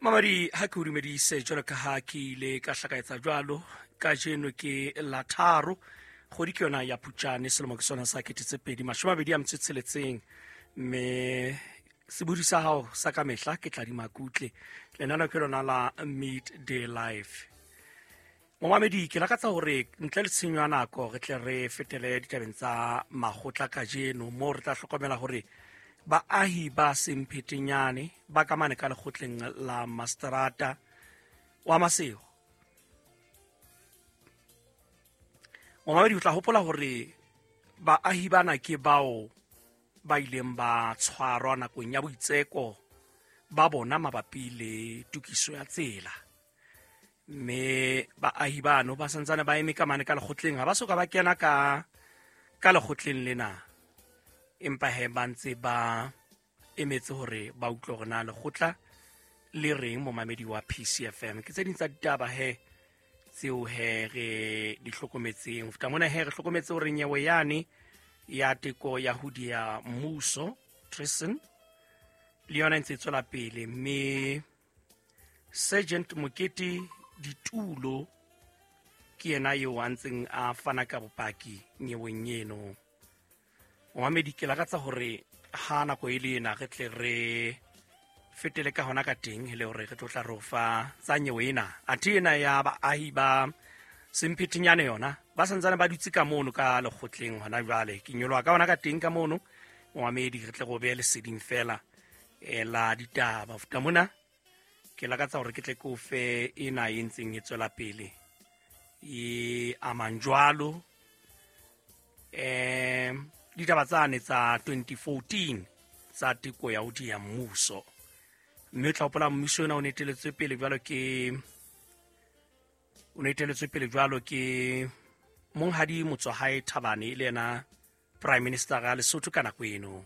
Mamadi, ha ke o dumedise jwalo ka ha ke ile ka hlakaetsa jwalo, kajeno ke la tharo, kgwedi ke yona ya Phupjane, selemo ke sona sa 2026, mme sebodi sa hao sa ka mehla ke Tladima Kutle. Lenaneo ke lona la Midday Life. Momamedi, ke lakatsa hore ntle le tshenyo ya nako re tle re fetele ditabeng tsa makgotla kajeno, moo re tla hlokomela hore baahi ba Semphetenyane ba ka mane ka lekgotleng la mastrata wa Masego. Momamedi, o tla hopola hore baahi bana ke bao ba ileng ba tshwarwa nakong ya boitseko ba bona mabapi le tokiso ya tsela, mme baahi bano ba santsane ba eme ka mane ka lekgotleng, ha ba soka ba kena ka lekgotleng lena, empa he ba ntse ba emetse hore ba utlwe hore na lekgotla le reng. Momamedi wa PCFM, ke tse ding tsa ditaba he tseo he re di hlokometseng. Ho feta mona he re hlokometse hore nyewe yane ya teko ya ho diya mmuso, treason, le yona e ntse e tswela pele, mme Sergeant Mokete Ditulo ke yena eo a ntseng a fana ka bopaki nyeweng eno. Momamedi, ke lakatsa hore ha nako e le ena re tle re fetele ka hona ka teng, e le hore re tlo tla re o fa tsa nyewe ena. Athe ena ya baahi ba Semphetenyane yona ba santsane ba dutse ka mono ka lekgotleng hona jwale. Ke nyoloha ka hona ka teng ka mono, momamedi, re tle re o behe leseding fela la ditaba. Ho feta mona ke lakatsa hore ke tle ke o fe ena e ntseng e tswela pele e amang jwalo ditaba tsane tsa 2014 tsa teko ya ho diya mmuso, mme o tla hopola mmuso ona o neteletswe pele jwalo ke o neteletswe pele jwalo ke monghadi Motswahae Thabane, e le yena prime minister ya Lesotho ka nako eno.